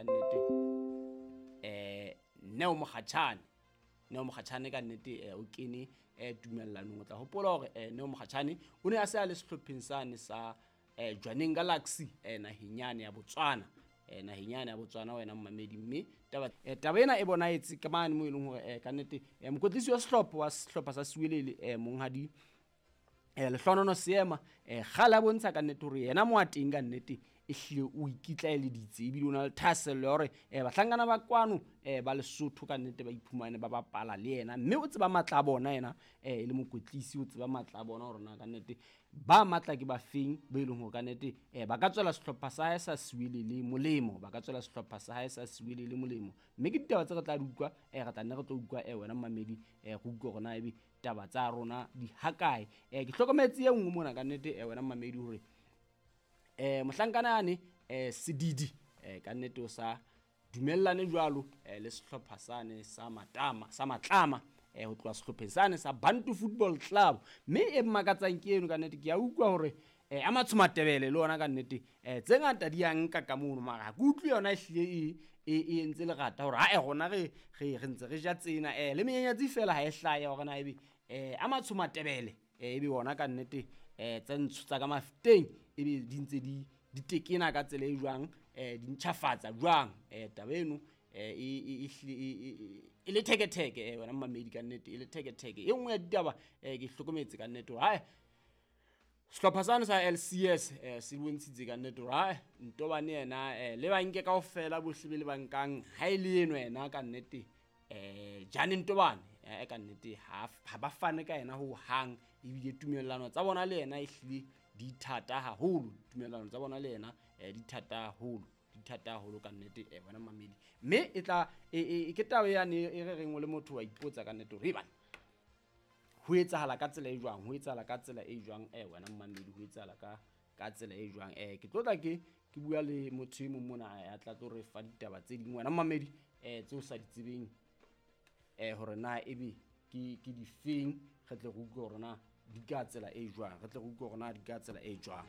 ka nnete Neo Mokgatjhane. Neo Mokgatjhane ka nnete o kene tumellanong. O tla hopola hore Neo Mokgatjhane o ne a se a le sehlopheng sane sa Jwaneng Galaxy naheng yane ya Botswana. Naheng yane ya Botswana wena mmamedi, mme taba ena e bonahetse ka mane mo e leng hore ka nnete mokwetlisi wa sehlopha wa sehlopha sa Siwelele monghadi Lehlonono Seema kgale a bontsha ka nnete hore yena mo a teng ka nnete e hlile o ikitlaeleditse ebile o na le thahasello ya hore bahlankana ba kwano ba Lesotho ka nnete ba iphumane ba bapala le yena, mme o tseba matla a bona yena e le mokwetlisi, o tseba matla a bona hore na ka nnete ba matla ke ba feng ba e leng hore ka nnete ba ka tswela sehlopha sa hae sa Siwelele molemo, ba ka tswela sehlopha sa hae sa Siwelele molemo. Mme ke ditaba tse re tla di utlwa, re tla nne re tlo utlwa wena mmamedi, re utlwe hore na ebe taba tsa rona di hakae. Ke hlokometse e nngwe mona ka nnete wena mmamedi hore mohlankana yane Sedidi ka nnete o sa dumellane jwalo le sehlopha sane sa Matama sa Matlama ho tloha sehlopheng sane sa Bantu Football Club. Mme e mmakatsang ke eno ka nnete, ke a utlwa hore a Matsho Matebele le ona ka nnete tse ngata di a nka ka mono, mara ha ke utlwe yona e hlile e entse lerata hore ha rona re ntse re ja tsena le menyenyetsi fela ha e hlahe hore na ebe a Matsho Matebele ebe ona ka nnete tse ntsho tsa ka Mafeteng ebe di ntse di tekena ka tsela e jwang, di ntjhafatsa jwang. Taba eno e le theketheke wena mmamedi ka nnete, e le theketheke. E nngwe ya ditaba ke hlokometse ka nnete hore hae sehlopha sane sa LCS se bontshitse ka nnete hore hae Ntobane yena le ba nke kaofela bohle be le ba nkang ha e le eno yena ka nnete Jane Ntobane ka nnete ha ba fane ka yena ho hang, ebile tumellano tsa bona le yena e hlile di thata haholo, tumellano tsa bona le yena di thata haholo, di thata haholo ka nnete wena mmamedi. Mme e tla ke taba yane e re reng o le motho wa ipotsa ka nnete hore ebana ho etsahala ka tsela e jwang, ho etsahala ka tsela e jwang wena mmamedi, ho etsahala ka tsela e jwang. Ke tlo tla ke bua le motho e mong mona ya tla tlo re fa ditaba tse ding wena mmamedi tseo sa di tsebeng hore na ebe ke difeng, re tle re utlwe hore na di ka tsela e jwang, re tle re utlwe hore na di ka tsela e jwang.